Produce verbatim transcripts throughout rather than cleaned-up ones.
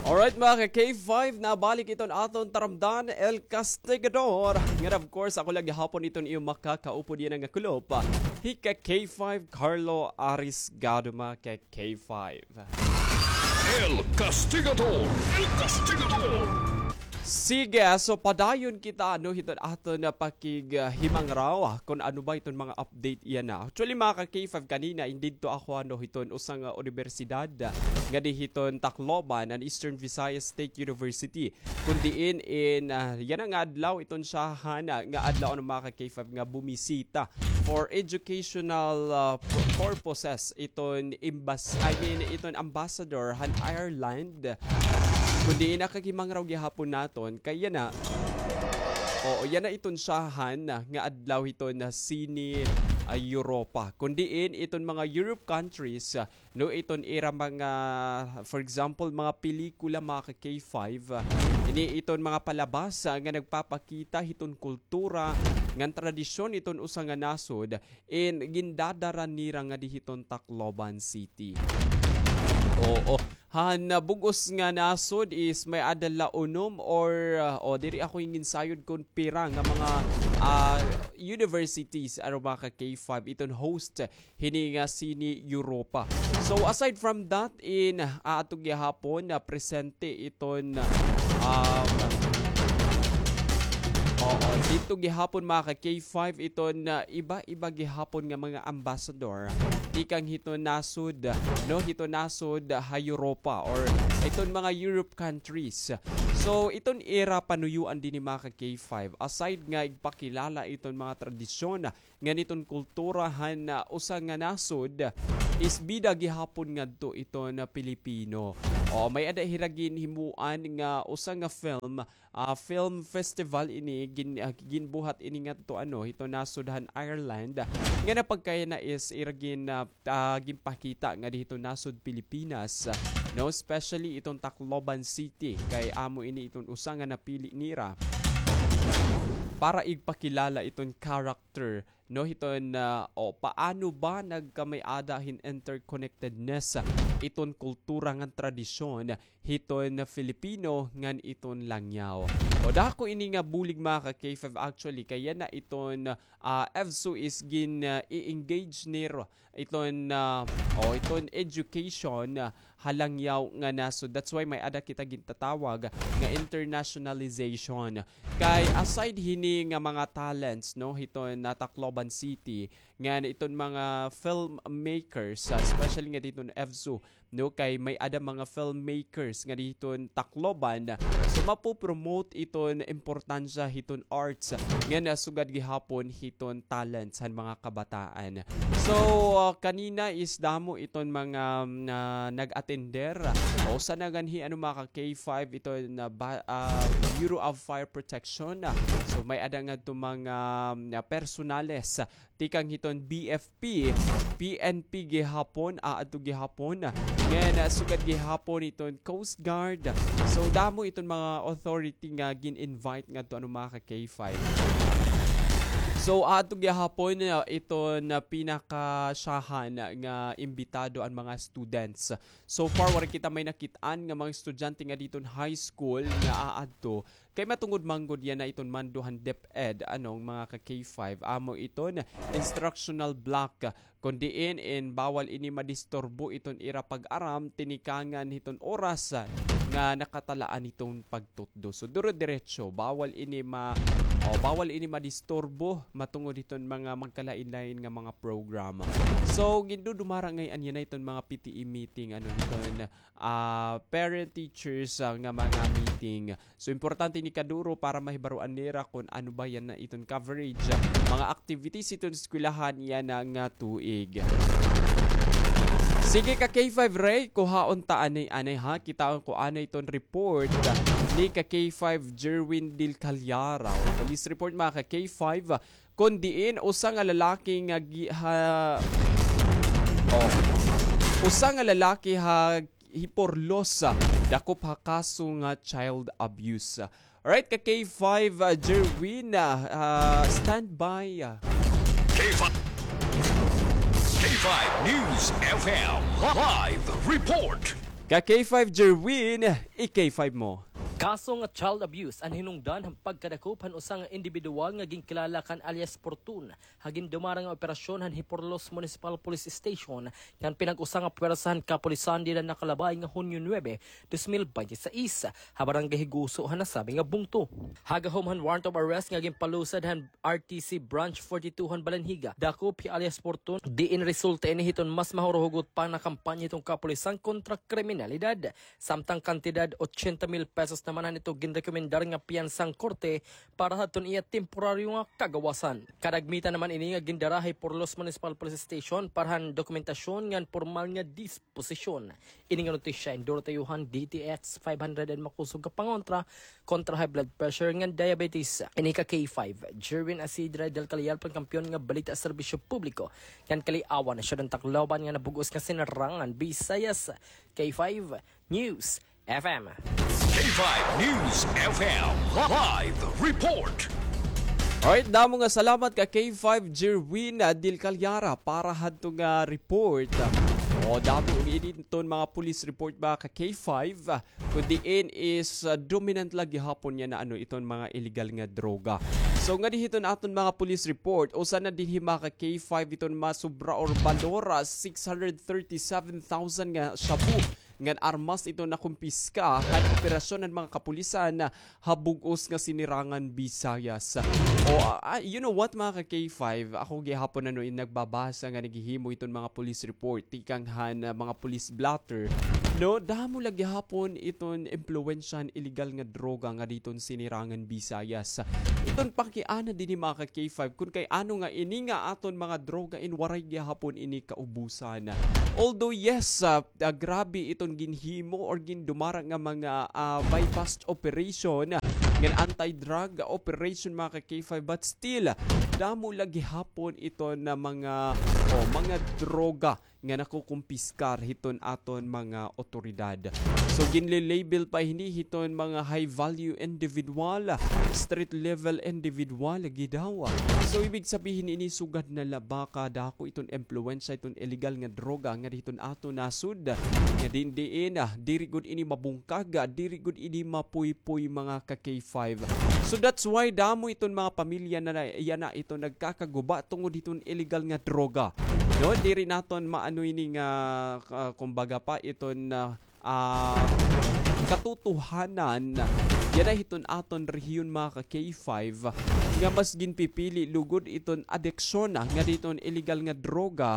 Alright, mga ka-K five, nabalik iton aton taramdan, El Castigador. Ngan, of course, ako la gihapon iton iyo makakaupod yana nga kulop, hi ka-K five, Carlo Arisgado, mga ka-K five. El Castigador! El Castigador! Sige, so padayon kita, no, hiton aton nga pakig, ah, himangraw, ah, kon ano ba iton mga update yana. Actually, mga ka-K five, kanina, indidto ako, ano, hiton usa nga, ah, unibersidad, ah, ngadi hiton Tacloban, an Eastern Visayas State University. Kon diin in, ah, yana nga adlaw, iton syahan, ah, nga adlaw, ano, mga ka-K five, nga bumisita for educational, ah, pu-, purposes iton embas-, I mean, iton ambassador han Ireland. Kon diin nakakahimang raw gihapon naton, kay yana, oo, yana iton syahan nga adlaw hiton sine, ah, Europa. Kon diin iton mga Europe countries, ah, no, iton ira mga, for example, mga pelikula, mga ka-K five, ah, ini iton mga palabas, ah, nga nagpapakita hiton kultura ngan tradisyon iton usa nga nasod, in gindadara nira ngadi hiton Tacloban City. Oo. Han, ah, bug-os nga nasod is may-ada la unom or, ah, o, diri ako ginsayon kon pira nga mga, ah, universities, ano, mga ka-K five, iton host hini nga sine Europa. So, aside from that, in, ah, ato gihapon na presente iton, um, oo, didto gihapon, mga ka-K five, iton, ah, iba-iba gihapon nga mga ambassador tikang hiton nasod, no, hiton nasod ha Europa or iton mga Europe countries. So, iton ira panuyoan dinhi, mga ka-K five, aside nga igpakilala iton mga tradisyon ngan iton kultura han, ah, usa nga nasod, is bida gihapon ngadto iton, ah, Pilipino. O, may-ada hira ginhimuan nga usa nga film, ah, film festival ini, gin-, ah, ginbuhat ini ngadto, ano, hiton nasod han Ireland. Nga napagkayana is ira gin-, ah, ah, ginpakita ngadi hiton nasod Pilipinas, no, especially iton Tacloban City, kay amo ini iton usa nga napili nira para igpakilala iton character, no, hiton, ah, o, paano ba nagkamay-ada hin interconnectedness iton kultura ngan tradisyon hiton Filipino ngan iton Langyaw. O, dako ini nga bulig, mga ka-K five, actually, kay yana iton, ah, EVSU is gin, ah, i-engage nira iton, ah, o, iton education, ah, ha Langyaw nga nasod. That's why may-ada kita gintatawag nga internationalization. Kay aside hini nga mga talents, no, hiton, ah, Tacloban City, ngan iton mga filmmakers, ah, especially ngadi hiton EVSU, no, kay may-ada mga filmmakers ngadi hiton Tacloban. So, mapopromote iton importansya hiton arts, ngan sugad gihapon hiton talents han mga kabataan. So, ah, kanina is damo iton mga, ah, nag-atender. Usa na nganhi, ano, mga ka-K five, iton, ah, ba-, ah, Bureau of Fire Protection. So, may-ada ngadto mga, ah, personales tikang hiton B F P, P N P gihapon, aadto gihapon. Ngan, ah, sugad gihapon hiton Coast Guard. So, damo iton mga authority nga gin-invite ngadto, ano, mga ka-K five. So, aadto gihapon, ah, iton, ah, pinakasyahan nga imbitado an mga students. So far, waray kita may nakit-an nga mga estudyante ngadi hiton high school nga aadto. Kay matungod man gud yana iton mando han DepEd, ano, mga ka-K five, amo iton instructional block, kon diin in bawal ini madisturbo iton ira pag-aram tinikangan hiton oras nga nakatalaan hiton pagtutdo. So, dire-diretso, bawal ini ma-, o, bawal ini madisturbo matungod hiton mga magkalain-lain nga mga program. So, gindudumara ngay-an yana iton mga P T E meeting, ano, hiton, ah, parent teachers, ah, nga mga meeting. So, importante ini kaduro para mahibaroan nira kon ano ba yana iton coverage, ah, mga activities hiton eskwelahan yana nga tuig. Sige ka K five Ray, kuhaon ta anay-anay ha, kitaon ko anay iton report ni ka K five Jerwin Del Callar. Police report, mga ka K five, kon diin usa nga lalaki nga gi-, ha, oh, usa nga lalaki ha Giporlos, ah, dakop ha kaso nga child abuse. Alright, ka K five, ah, Jerwin, ah, ah, stand by, ah. K five, K five News F M live report. Ka K five Jerwin, i-K five mo. Kaso nga child abuse an hinungdan han pagkadakop han usa nga indibidwal nga ginkilala kan alias Porton ha gindumara nga operasyon han Giporlos Municipal Police Station kan pinag-usa nga puwersa han kapulisan dida nakalabay nga Hunyo nuebe, dos mil bente seis, ha Barangay Higuso han nasabi nga bungto. Ha gahom han warrant of arrest nga ginpalusad han R T C Branch forty-two han Balanhiga, dakop hi alias Porton, diin resulta ini hiton mas mahuruhugot pa nga kampanya hiton kapulisan kontra kriminalidad. Samtang kantidad ochenta mil pesos naman han ito ginrekomendar nga piyansa han korte para hadton iya temporaryo nga kagawasan. Kadagmitan naman ini nga gindara ha Giporlos Municipal Police Station para han dokumentasyon ngan pormal nga disposisyon. Ini nga notisya endorso ha iyo han D T X five hundred and makusog nga pangontra kontra high blood pressure ngan diabetes. Ini ka K five, Jerwin Asidre del Callar, pangkampiyon nga balita, serbisyo publiko ngan kaliawan ha Siyudad han Tacloban nga nabug-os nga Sinirangan Visayas. K five News F M. K five News F M live report. Alright, damo nga salamat ka K five Jerwin, ah, Del Callara para hadto nga report. O, damo ini iton mga police report ba ka K five, ah, kun diin is, ah, dominant la gihapon yana, ano, iton mga illegal nga droga. So, ngadi hiton aton mga police report, usa na dinhi mga ka K five iton masobra or balor, ah, six hundred thirty-seven thousand nga shabu ngan armas iton nakumpiska han operasyon han mga kapulisan ha bug-os nga Sinirangan Visayas. O, ah, ah, you know what, mga ka K five, ako gihapon, ano, in nagbabasa nga naghihimo iton mga police report tikang han, ah, mga police blotter. No, damo la gihapon iton impluwensya han illegal nga droga ngadi hiton Sinirangan Visayas. Iton pakiana dinhi, mga ka K five, kun kay ano nga ini nga aton mga droga in waray gihapon ini kaubusan. Although yes, ah, ah, grabe iton ginhimo or gindumara nga mga, ah, buy-bust operation, ngan anti-drug operation, mga ka K five, but still, damo la gihapon iton na mga, o, mga droga nga nakukumpiskar hiton aton mga otoridad. So, ginle-label pa hini hiton mga high value individual, street level individual gihap. So, ibig sabihin ini sugad na la ba kadako iton impluwensya iton illegal nga droga ngadi hiton aton nasod, nga diin-diin, ah, diri gud ini mabungkag, ah, diri gud ini mapuypoy, mga ka K five. So that's why damo iton mga pamilya na, na yana iton nagkakaguba tungod hiton illegal nga droga. No, diri naton maano ini nga, ah, kumbaga pa iton, ah, ah, katotohanan yana hiton aton rehiyon, mga ka K five, nga mas ginpipili lugod iton adiksyon ngadi hiton illegal nga droga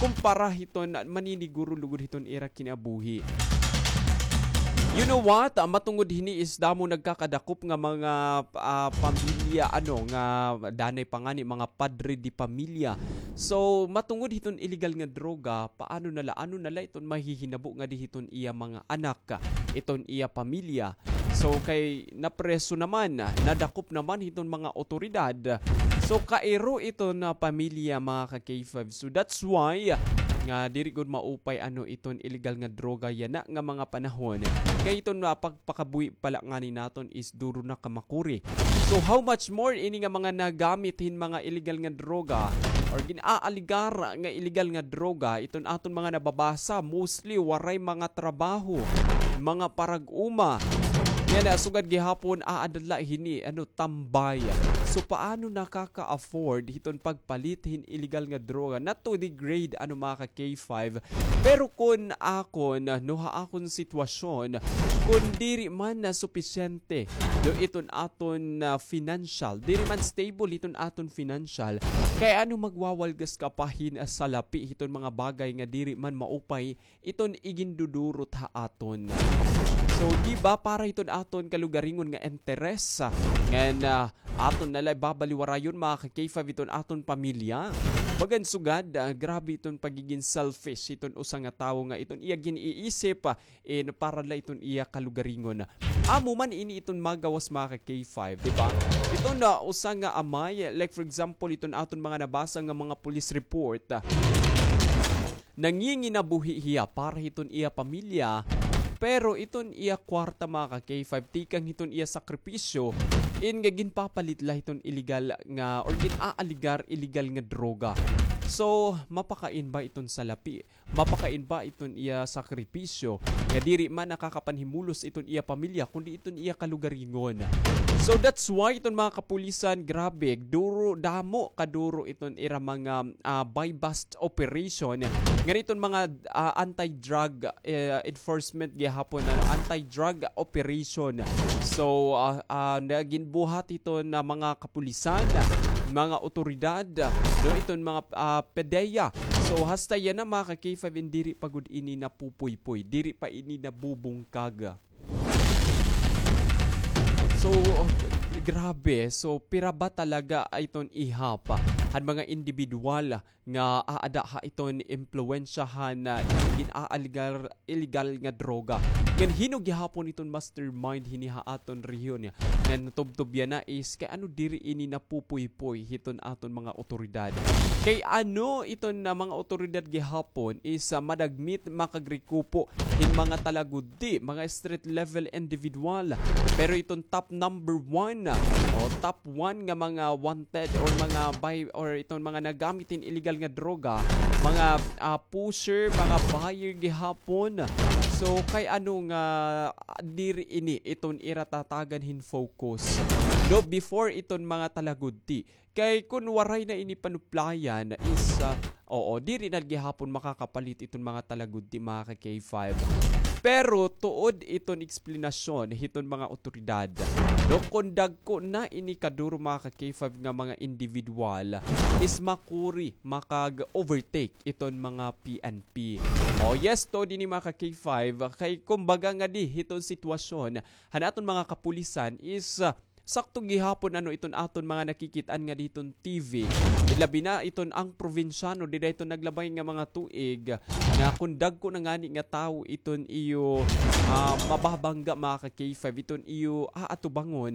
kumpara hiton maniniguro lugod hiton ira kinabuhi. You know what? Ah, matungod hini is damo nagkakadakop nga mga, ah, pamilya, ano, nga danay pa ngani mga padre de pamilya. So, matungod hiton illegal nga droga, paano na la, ano na la iton mahihinabo ngadi hiton iya mga anak, iton iya pamilya? So, kay napreso naman, nadakop naman hiton mga otoridad. So, kairo iton pamilya, mga ka K five. So, that's why nga diri gud maupay, ano, iton illegal nga droga yana nga mga panahon. Kay iton, ah, pagpakabuhi pa la ngani naton is duro na ka makuri. So, how much more ini nga mga nagamit hin mga illegal nga droga or gin-aaligar nga illegal nga droga, iton aton mga nababasa, mostly waray mga trabaho, mga parag-uma. Yana, sugad gihapon, aada la hini, ano, tambay. So, paano nakaka-afford hiton pagpalit hin illegal nga droga? Not to degrade, ano, mga ka K five, pero kun akon, no, ha akon sitwasyon, kun diri man na supisyente, no, iton aton, ah, financial, diri man stable iton aton financial, kay ano magwawalgas ka pa hin, ah, salapi hiton mga bagay nga diri man maupay iton igindudurot ha aton. So, di ba, para hiton aton kalugaringon nga interes, ah, ngan, ah, aton na la babaliwarayon, mga ka K five, iton aton pamilya. Bagan sugad, ah, grabe iton pagigin selfish iton usa nga tawo nga iton iya gin-iisip, ah, in para la iton iya kalugaringon. Amo man ini iton magawas, mga ka K five, di ba? Iton na usa nga amay, like for example, iton aton mga nabasa nga mga police report, ah, nanginginabuhi hiya para hiton iya pamilya, pero iton iya kwarta, mga ka K five, tikang hiton iya sakripisyo, in nga ginpapalit la hiton illegal nga or gin-aaligar illegal nga droga. So, mapakain ba iton salapi? Mapakain ba iton iya sakripisyo nga diri man nakakapanhimulos iton iya pamilya, kundi iton iya kalugaringon? So, that's why iton mga kapulisan, grabe, duro, damo kaduro iton ira mga, ah, buy-bust operation. Ngan iton mga, ah, anti-drug, eh, enforcement gihapon, ano, anti-drug operation. So, ah, ah, na ginbuhat iton mga kapulisan, mga otoridad, no, iton mga, ah, PDEA. So, hasta yana, mga ka-K five, diri pa gud ini napupuypoy, diri pa ini nabubungkag. So, grabe. So, pira ba talaga iton ihap han mga indibidwal nga aada ha iton impluwensyahan na gin-aaligar illegal nga droga? Ngan hin-o gihapon iton mastermind hini ha aton rehiyon nga natubtob yana is kay ano diri ini napupuypoy hiton aton mga otoridad? Kay ano iton, ah, mga otoridad gihapon is, ah, madagmit makagrikupo hin mga talagudi, mga street level individual. Pero iton top number one, o top one nga mga wanted or mga buy or iton mga nagamit hin illegal nga droga, mga, ah, pusher, mga buyer gihapon. So, kay ano nga, ah, diri ini iton ira tatagan hin focus? No, before iton mga talagudi. Kay kun waray na ini panuplayan is, ah, oo, diri na gihapon makakapalit iton mga talagudi, mga ka-K five. Pero tuod iton eksplanasyon hiton mga otoridad, no, kun dagko na ini kaduro, mga ka-K five, nga mga individual is makuri, makag-overtake iton mga P N P. Oh, yes, tuod ini, mga ka-K five, kay kumbaga ngadi hiton sitwasyon han aton mga kapulisan is, ah, sakto gihapon, ano, iton aton mga nakikit-an ngadi hiton T V. Labi na iton an probinsyano dida hiton naglabay nga mga tuig nga kun dagko na ngani nga tawo iton iyo, ah, mababangga, mga ka-K five, iton iyo aatubangon.